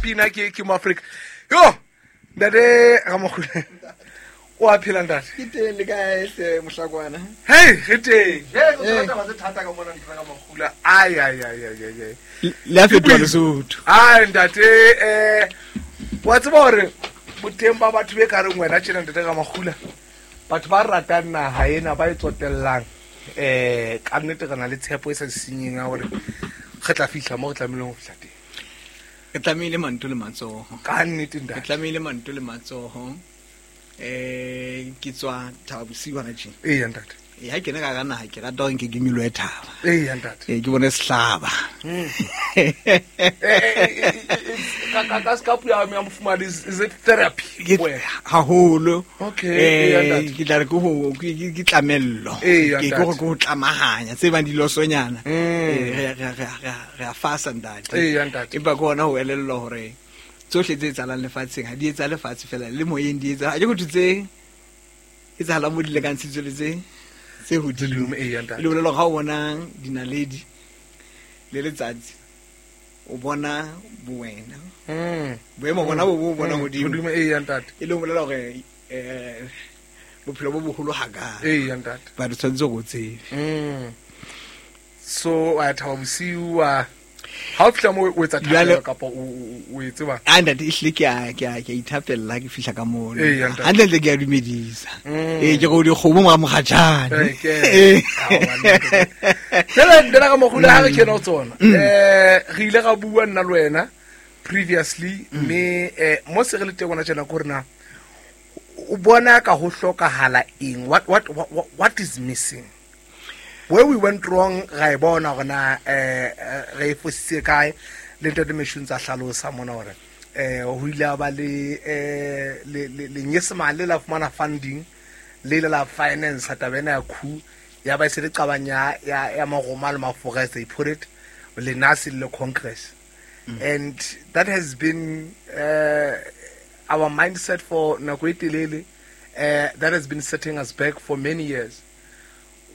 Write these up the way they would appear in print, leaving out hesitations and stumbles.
Pina ke mo Afrika. Yo, ntate Ramogule. O a phela, ntate? Ke teng, le kae hle, mohlakwana? Hey, re teng. Hey, go tswa taba tse thata ka mona, ntate Ramogula. Ai ai ai ai ai ai. Le a fetoha Lesotho. Ai ntate, wa tseba hore boteng ba batho be ka reng wena tjena, ntate Ramogula, batho ba ratang naha ena, ba e tsotellang, ka nnete re na le tshepo e sa sinyeng ya hore re tla fihla mo re tlamehileng ho fihla teng. Re tlamehile manto le matsoho. Ka nnete, ntate. Re tlamehile manto le matsoho. Ke tswa Thaba Bosiu hona tje. Eya, ntate. E ha kene ka hara naha, ke rata hore nke ke nyolohe thaba. Eya, ntate. Ke bone sehlaba. Ka ska puo ya mofumahadi, is it therapy? Ke Wena? Haholo. Okay, eya, ntate. Ke tla re ke ho, ke tlamello. Eya, Ke ntate. hore ke ho tlamahanya tse bang dilosonyana. Re a fasa, ntate. Eya, ntate. Empa ke hona ho elellwa hore tsohle tse etsahalang lefatsheng ha di etsahale lefatshe fela, le moyeng di etsahala. Ha ke ho thwe tse etsahalang mo di lekantshitswe le tse hodimo. Hodimo, eya, ntate. Le bolela hore ha o bona dinaledi le letsatsi, o bona bowena. Boemo bona bo bo bona hodimo. Hodimo, eya, ntate. E le ho bolela hore, bophelo bo boholo hakae. Eya, ntate. Ba re tshwanetse hore o tsebe. So wa Thaba Bosiu, wa ha o fihla moo o etsa Jwale thapelo kapa o e tseba? Ah, ntate, ehlile ke a ithapella ha ke fihla ka mono. Eya, ntate. Hantle-ntle ke a dumedisa. Ke re o dikgomo mora mokgatjhane. Ee, ke. Aowa, ntate. Jwale, ntate Ramogula, ha re kena ho tsona, re ile ra bua nna le wena previously, mme, mo se re le teng hona tjena ke hore na o bona ka ho hlokahala eng? What is missing? Where we went wrong, ra e bona hore na, re e fositse kae. Le ntate Meshu ntse a hlalosa mona hore, ho ile ha ba le lenyesemane la fumana funding, le ile la finance taba ena ya coup, ya ba e se le qabang ya Maroma le Mafora, as they put it, le NASI le Congress. And that has been our mindset for nako e telele, that has been setting us back for many years.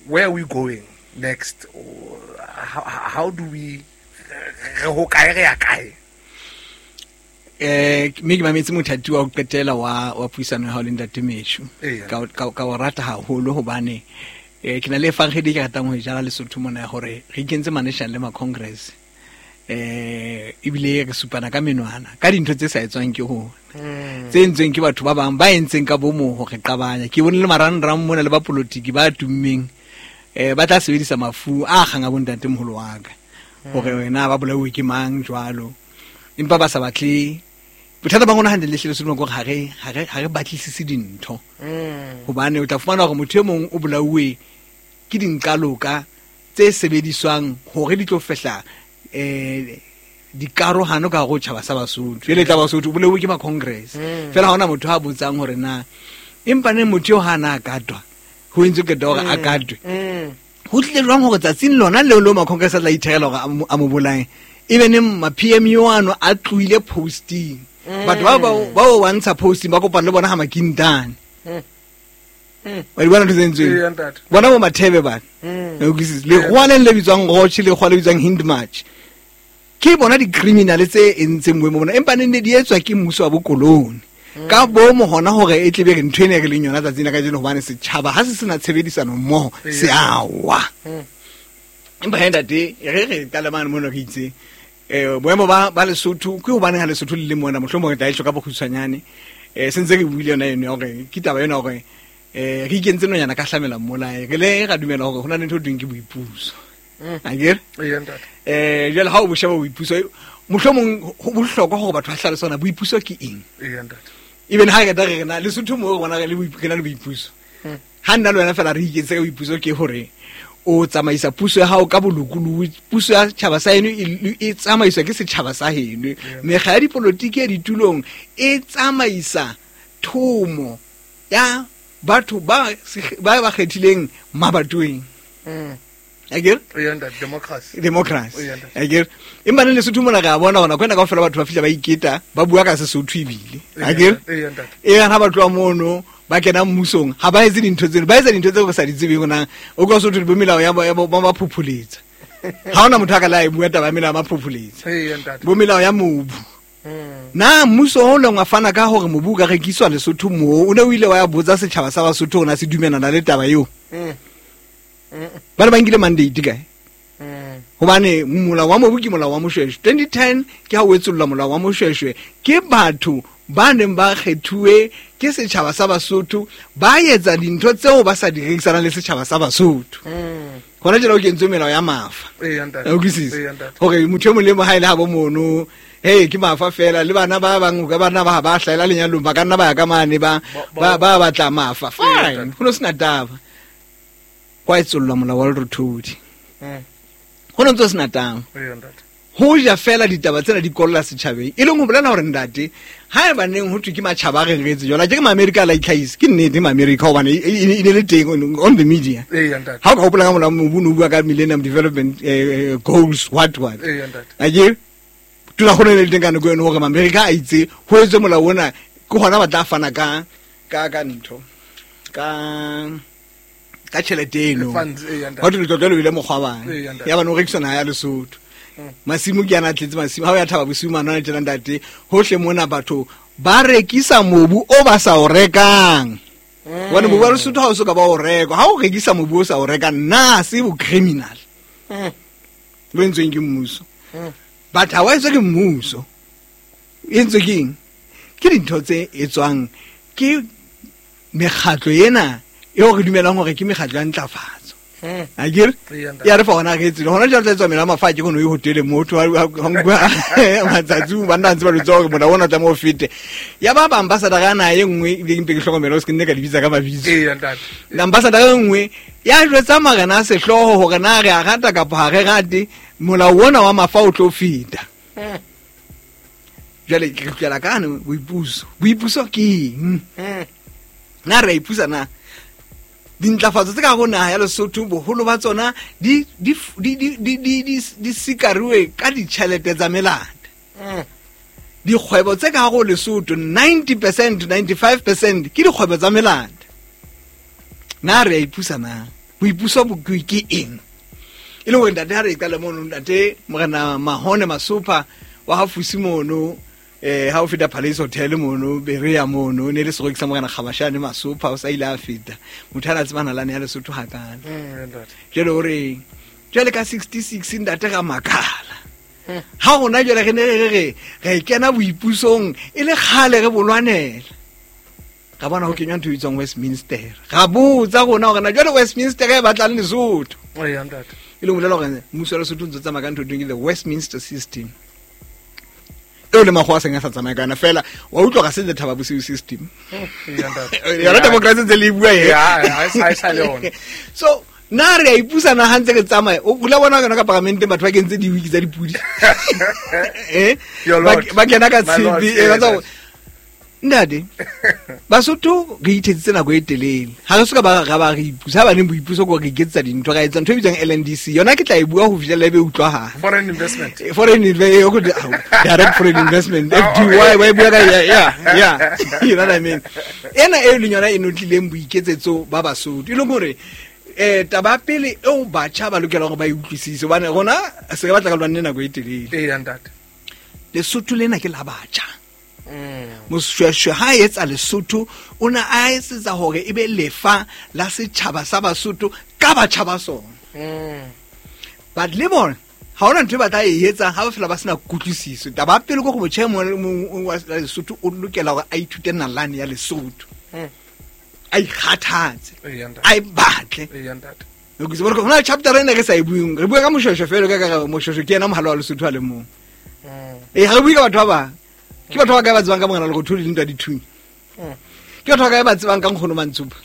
Where are we going next? How do we, re ho kae, re ya kae? Mme ke mametse mothati wa ho qetela wa puisano ya hao le ntate Meshu. Eya. Ka o rata haholo hobane, ke na le evangeli ke ratang ho e jala Lesotho mona ya hore re ikentse ma-national le ma-congress. Ebile re supana ka menwana ka dintho tse sa etswang ke rona. Tse entsweng ke batho ba bang ba entseng ka bomo ho re qabanya. Ke bone le marangrang mona le bapolotiki ba tummeng, ba tla sebedisa mafu a kgang a bontate moholo wa ka. Hore wena ba bolauwe ke mang jwalo. Empa ba sa batle. Bothata ba rona hantle le hlile Lesotho ke hore ha re batlisise dintho. Hobane o tla fumana hore motho e mong o bolauwe ke dinqaloka tse sebediswang hore di tlo fehla, dikarohano ka hare ho tjhaba sa Basotho. Jwale tla Basotho o bolauwe ke ma Congress. Fela ha hona motho a botsang hore na empa neng motho eo ha na a katwa, ho entswe qeto ya hore a katwe. Ho tlile jwang hore tsatsing lona leo leo ma Congress a tla ithekela hore a mo bolaye, ebe neng ma PMU ano a tlohile posting. Batho ba o wa ntsha posting ba kopana le bona ha Makintane. Wa di bona ntho tse entsweng? Eya, ntate. Bona bo Mathebe bana. O utlwisisa? Lekgowa le le bitswang Roche, lekgowa le bitswang Hindmarch. Ke bona di-criminal tse entseng boemo bona, empa ne ne di etswa ke mmuso wa bokolone. Ka bomo hona hore e tle be re ntho ena e re leng yona tsatsing la kajeno, hobane setjhaba ha se sena tshebedisano mmoho, se a wa. Empa he ntate, re re qale mane mono re itse, boemo ba Lesotho, ke hobaneng ha Lesotho le le mona, mohlomong re tla e hloka bokgutshwanyane. Se ntse re buile yona eno ya hore ke taba ena hore, re ikentse nonyana ka hlamela mmolae, re le ra dumela hore ho na le ntho e thweng ke boipuso. Akere? Eya, ntate. Jwale ha o bo sheba boipuso, mohlomong ho bohlokwa hore batho ba hlalose hore na boipuso ke eng. Eya, ntate. Even ha re qeta re re na Lesotho moo re bona re na le boipuso. Ha nna le wena fela re ikentse ka boipuso ke hore o tsamaisa puso ya hao ka bolokolohi, puso ya setjhaba sa heno e tsamaiswa ke setjhaba sa heno. Mekga ya dipolotiki ya ditulong e tsamaisa thomo ya batho ba kgethileng mabatoweng. Akere? Eya, ntate, democracy. Democracy. Eya, ntate. Akere? Empa ne Lesotho mona re a bona hore nako ena kaofela batho ba fihla ba iketa, ba bua ka Sesotho ebile. Eya, Akere? ntate. Eya, ntate. Eya, ha ba tloha mono, ba kena mmusong, ha ba etse dintho tseno, ba etsa dintho tseo re sa di tsebeng hore na o ka Sotho bo melao ya bo, ba phopholetsa. Ha hona motho a ka la e bua taba ya melao ya maphopholetsa. Eya, ntate. Bo melao ya mobu. Na mmuso o leng wa fana ka hore mobu o ka rekiswa Lesotho moo, o ne o ile wa ya botsa setjhaba sa Basotho hore na se dumelana le taba eo? Ba ne ba nkile mandate kae? Hobane molao wa mobu ke molao wa Moshweshwe. 2010 ke ha o etsollwa molao wa Moshweshwe ke batho ba neng ba kgethuwe ke setjhaba sa Basotho, ba etsa dintho tseo ba sa di rekisanang le setjhaba sa Basotho. Hona jwale o kentswe melao ya mafa. Ee, ntate. O utlwisisa? Ee, ntate. Hore motho e mong le mong ha e le habo mono, hey, ke mafa fela, le bana ba bang, ka bana ba ba hlahela lenyalong, ba ka nna ba ya ka mane, ba batla mafa. Ee, Fine, ntate. ho no sena taba. Hwa etsollwa molao wa Lerothodi. Ho no ntso sena taba. Ee, ntate. Ho ja fela ditaba tsena di kolla setjhabeng, e leng ho bolela hore ntate, ha eba neng ho thwe ke matjhaba a re retse jwale, ke ma-Amerika a la itlhahisa, ke nnete ma-Amerika hobane e ne le teng on the media. Ee, ntate. Ha o ka hopola ka molao mobu, o no bua ka Millennium Development Goals, what, what. Ee, ntate. Akere? Tona kgolo e ne le teng ka nako eno hore ma-Amerika a itse ho etswe molao ona, ke hona ba tla fana ka ntho, ka tjhelete eno. Funds, ee, ntate. Ho thwe letlotlo le bile mokgwabane. Ee, ntate. Ya ba no rekiswa naha ya Lesotho. Masimo ke ana a tletse masimo, ha o ya Thaba Bosiu mane hona tjena ntate, hohle mona batho ba rekisa mobu o ba sa o rekang. Hobane mobu wa Lesotho ha o so ka ba o rekwa, ha o rekisa mobu o sa o rekang, na se bo criminal. Bo entsweng ke mmuso. But ha wa etswa ke mmuso. E entswe ke eng? Ke dintho tse etswang ke mekgatlo ena eo re dumelang hore ke mekgatlo ya ntlafatso. Akere? Ee, ntate. Ya re fa hona re etsile. Hona jwale tla etswa mela mafatshe ke no e hotele motho, ha nkuwa matsatsi, banna ntse ba lotsa hore molao ona o tlameha o fete. Ya ba ba ambassador ya naha e nngwe, ebile ke mpe ke hlokomele ho se ke nne ka di bitsa ka mabitso. Ee, ntate. Ambassador e nngwe ya jwetsa marena a sehlooho hore na re a rata kapa ha re rate, molao ona wa mafa o tlo feta. Jwale ke kgutlela kane boipuso. Boipuso ke eng? Na re a ipusa na? Dintlafatso tse ka hare ho naha ya Lesotho, boholo ba tsona di sikariwe ka ditjhelete tsa melata. Dikgwebo tse ka hare ho Lesotho, 90%, 95% ke dikgwebo tsa melata. Na re a ipusa na? Boipuso bo ke eng? E le hore ntate ha re qala mono, ntate Morena Mahone Masopha wa ha Fusi mono, ha o feta Palace Hotel mono, Berea mono, ne le seroki sa Morena Kgabashane Masopha, o sa ile a feta. Motho a na tsebana lane ya Lesotho hakana. Ntate. Jwale o re, jwale ka 66 ntate ra makala. Ha rona jwale re ne re re, re kena boipusong e le kgale re bolwanela. Ra bona ho kenywa ntho e bitswang Westminster. Ra botsa rona hore na jwale Westminster e batlang Lesotho. Ee, ntate. E leng ho bolela hore mmuso wa Lesotho o ntse o tsamaya ka ntho e thweng ke the Westminster system. Eo le makgowa a seng a sa tsamaye ka yona fela, wa utlwa hore ha se the Thaba Bosiu system. Ee, ntate. Yona democracy ntse le e bua e. Ya, ya, ha e sa le yona. So, na re a ipusa na ha ntse re tsamaya? O la bona yona ka paramenteng batho ba kentse di-wig tsa dipudi. Your lord. Ba kena ka My lord, tshepe, ee, ba tsa ntate. Ntate, Basotho re ithetsitse nako e telele. Ha re soka ba ra ba re ipusa, ha ba neng boipuso ke hore re iketsetsa dintho, ra etsa ntho e bitswang LNDC. Yona ke tla e bua ho fihlela e be utlwahala. Foreign investment. Foreign o ko di-, au, direct foreign investment, FDY, wa e bua ka, yeah, yeah, yeah. You know what I mean? Ena e leng yona e notlileng boiketsetso ba Basotho. E leng hore, taba ya pele eo batjha ba lokelang hore ba e utlwisise, hobane rona se re batla ka lwanne nako e telele. Ee, ntate. Lesotho lena ke la batjha. Moshweshwe ha etsa Lesotho, o ne a etsetsa hore e be lefa la setjhaba sa Basotho ka batjha ba sona. But le bona, ha hona ntho e ba tla e etsa ha ba fela ba sena kutlwisiso. Taba ya pele ke hore motjha e mong le mong wa Lesotho o lokela hore a ithute nalane ya Lesotho. A ikgathatse. Ee, ntate. A e batle. Ee, ntate. Re utlwisisa? Hobane hona le chapter ena re sa e bueng. Re bua ka Moshweshwe fela, ka re Moshweshwe ke yena mohala wa Lesotho a le mong. Ha re bue ka batho ba bang. Ke batho ba kae ba tsebang ka Morena Lerothodi le ntwa dithunya? Ke batho ba kae ba tsebang ka Nkgono Mantsopa?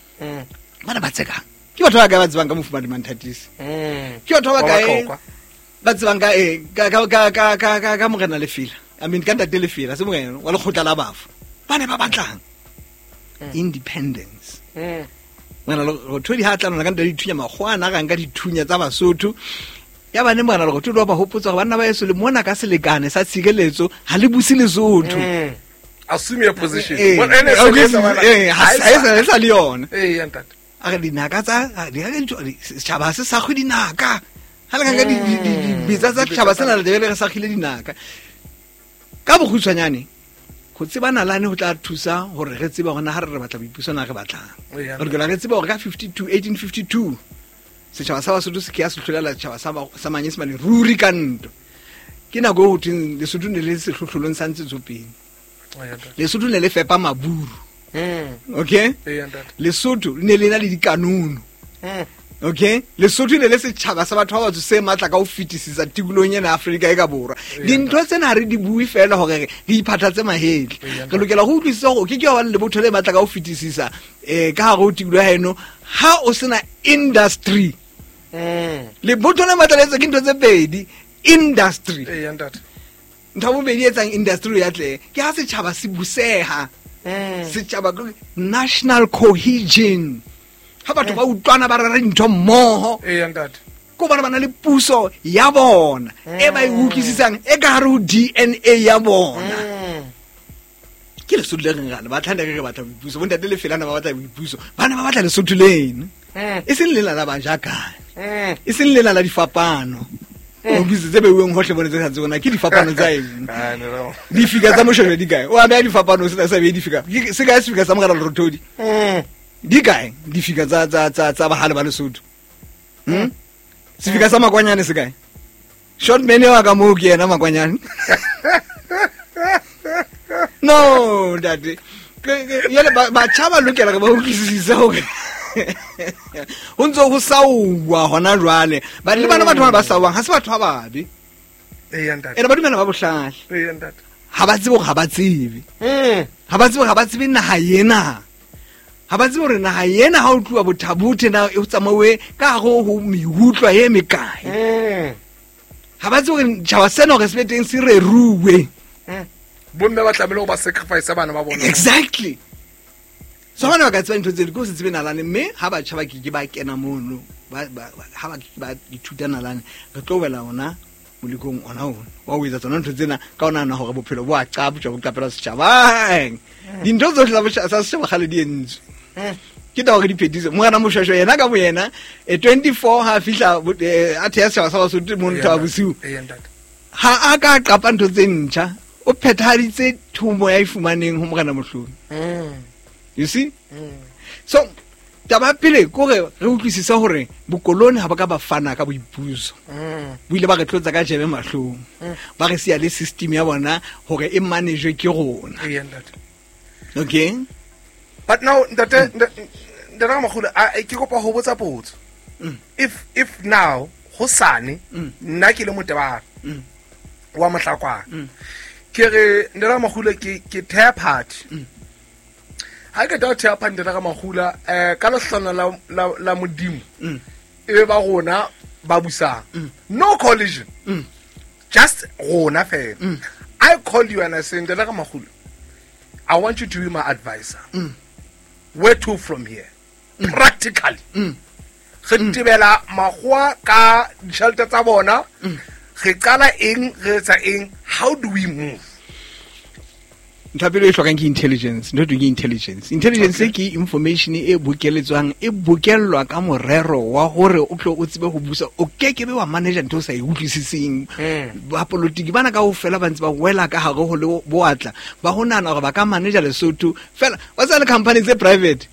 Bana ba tsekang. Ke batho ba kae ba tsebang ka Mofumadi Manthatisi? Ke batho ba Ba kae Batlokwa. ba tsebang ka, ka, ka, ka, ka, ka, ka, ka Morena Lefela? I mean, ka Ntate Lefela, se morena wa lekgotla la bafu. Ba ne ba batlang independence. Morena Lerothodi ha a tla lona ka ntwa dithunya, makgowa a na rang ka dithunya tsa Basotho. Ya ba ne Morena Lerothodi wa ba hopotsa hore banna ba heso le mona ka selekane sa tshireletso, ha le buse Lesotho. Assume your position. Well, ene se le yona. Ha Ha e e sa, e sa le yona. Ee, ya ntate. A re dinaka tsa, a di ka ntho, di, setjhaba se sa kgwe dinaka. Ha le ka nka di, di, di, Mm. betsa tsa Dibetsa setjhaba tsa sena, le tlabe le re sa kgile dinaka. Ka bokgutshwanyane, Go tseba nalane go tla thusa gore re tsebe gore na ga re re batla boipuso na re batlang. Eya. Re lokela re tsebe gore ka 52 1852 setšhaba sa Basotho se ke ya se hlolela setšhaba sa Manyesemane ruri ka ntwa. Ke nako e ho thweng Lesotho ne le sehlohlolong sa ntshetsopele. Eya, ntate. Lesotho ne le fepa maburu. Okay? Eya, ntate. Lesotho le ne le na le dikanono. Okay, Lesotho ne le setšhaba sa batho ba batsho se matla ka ho fetisisa tikolohong ena ya Afrika e ka borwa. Dintho tsena ha re di bue fela hore re iphathatse mahetla. Re lokela go utlwisisa hore o ke ke wa ba le lebotho le matla ka ho fetisisa ka hare ho tikoloho ya heno ha o sena industry. Lebotho le matla le etswa ke ntho tse pedi, industry. Eya, ntate. Ntho ya bobedi e etsang industry ya atlehe ke ha setjhaba se buseha. Setjhaba ke national cohesion. Ha batho ba utlwana ba rera dintho mmoho. Eya, ntate. Ke hobane ba na le puso ya bona e ba e utlwisisang e ka hare ho DNA ya bona. Ke Lesotho le reng ra le batla, ne re re batla boipuso. Bontate le Felana ba batla boipuso. Ba ne ba batla Lesotho leno. E seng lela la bajakane. E seng lela la difapano. O utlwisitse tse beuweng hohle mona tse sa tsebeng na ke difapano tsa eng. Ah, no, no. Difika tsa Moshweshwe di kae? O a beha difapano, o sa behe difika. Ke se kae sefika sa Morena Lerothodi? Di kae difika tsa bahale ba Lesotho? Sefika sa Makwanyane se kae? Short man wa ka moo ke yena Makwanyane. No, ntate. Jwale batjha ba lokela re ba utlwisise hore ho ntse ho sauwa hona jwale. Ba le bana batho ba sauwang ha se batho ba babe. Eya, ntate. Ene ba dumela ba bohlale. Eya, ntate. Ha ba tsebe hore ha ba tsebe. Ha ba tsebe hore ha ba tsebe naha ena. Ha ba tsebe hore naha ena ha o tluwa bothabothe na e tsamauwe ka hare ho mehutlwa e mekae. Ha ba tsebe hore tjhaba sena hore se be teng se reruwe. Bomme ba tlamehile ho ba sacrifice bana ba bona. Exactly. So bana ba ka tseba ntho tseo, ke ho se tsebe nalane, mme ha batjha ba ke ke ba kena mono, ha ba ke ke ba ithuta nalane, re tlo wela ona molekong ona ona wa ho etsa tsona ntho tsena ka o nahana hore bophelo bo a qaptjwa, bo qapelwa setjhabeng. Dintho tsohle tsa setjhaba kgale di entswe. Ke taba hore di phethise. Morena Moshweshwe yena ka boyena, 24 ha a fihla a theha setjhaba sa Basotho mono Thaba Bosiu. Eya, ntate. Ha a ka qapa ntho tse ntjha, o phethahaditse thomo ya e fumaneng ho Morena Mohlomi. You see? So, taba ya pele ke hore re utlwisise hore bokoloni ha ba ka ba fana ka boipuso. Bo ile ba re tlotsa ka jebe mahlong. Ba re siya le system ya bona hore e manage ke rona. Eya, ntate. Okay? But now, ntate, ntate Ramakgolo, ke kopa ho botsa potso. If now, hosane, nna ke le Motebang, wa Mohlakwana. Ke re, ntate Ramakgolo, ke theha party. Ha ke tla theha party, ntate Ramakgolo, ka lehlono la Modimo, e be ba rona ba busang. No collision. Just rona fela. I call you and I say, ntate Ramakgolo, I want you to be my advisor. Where to from here? Practically. Re tebela makgowa ka ditjhelete tsa bona. Re qala eng, re etsa eng? How do we move? Ntho ya pele e hlokang ke intelligence. Ntho e thweng ke intelligence. Intelligence ke information e bokeletswang, e bokellwa ka morero wa hore o tlo o tsebe ho busa. O kekebe wa manager ntho o sa e utlwisiseng. Bapolotiki bana kaofela ba ntse ba wela ka hare ho le boatla, ba ho nahana hore ba ka manager Lesotho fela. Wa tseba le company tse private.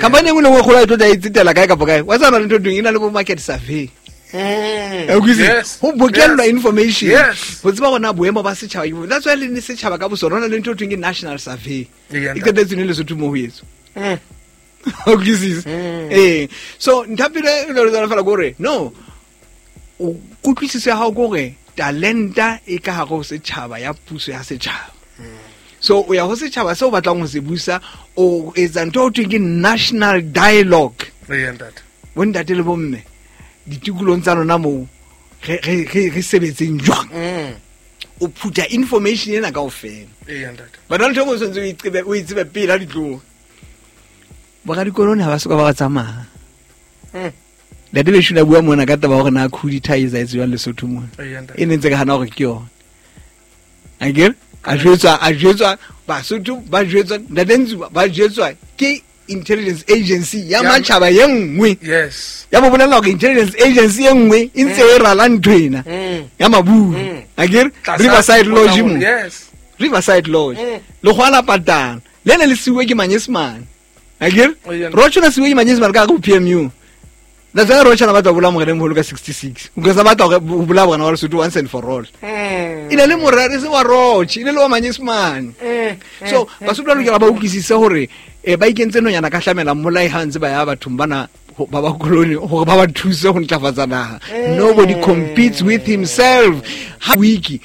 Company e nngwe le nngwe e kgolo ha e tlo tla e tsetela kae kapa kae. Wa tseba le ntho e thweng e na le bo market survey. O utlwisisa? Ho bokellwa information. Ho tseba hore na boemo ba setjhaba ke bo. That's why le ne setjhaba ka bosona, ho na le ntho e thweng ke national survey. E qetetse ne Lesotho moo ho etswa. O utlwisisa? So, ntho ya pele e lo tswana fela ke hore, no, o kutlwisiso ya hao ke hore talenta e ka hare ho setjhaba ya puso ya setjhaba. So, o ya ho setjhaba seo o batlang ho se busa, o etsa ntho e ho thweng ke national dialogue. Eya, ntate. Bontate le bomme, ditikolong tsa lona moo, re sebetseng jwang? O phutha information ena kaofela. Eya, ntate. But ha ntho e nngwe o tshwanetse o e tsebe pele ha di tloha. Boradikoloni ha ba soka ba ba tsamaya. Ntate Beshula bua mona ka taba hore na coup d'etat e etsahetse jwang Lesotho mona. Eya, ntate. E ne ntse ke hana hore ke yona. Akere? A jwetswa, Basotho ba jwetswa, Ntate Ntsuba ba jwetswa ke intelligence agency ya matjhaba e nngwe. Ya bo bolela hore intelligence agency e nngwe e ntse e rala ntho ena ya maburu. Akere? Tlasa Riverside Motla Lodge Hole, mo. Yes. Riverside Lodge. Lekgowa la patala. Le ne le siuwe ke Manyesemane. Akere? Oh, yeah. Roach o ne siuwe ke Manyesemane ka hare ho PMU. That's why Roach a na batla ho bolaya Morena e moholo ka 66. Because a batla ho bolaya Morena wa Lesotho once and for all. E ne le morero e se wa Roach, e ne le wa Manyesemane. So Basotho ba lokela ba utlwisise hore ba ikentse nonyana ka hlamela mmolai ha ntse ba ya bathong bana ba ba koloni hore ba ba thuse ho ntlafatsa naha. Nobody competes with himself. Ha wiki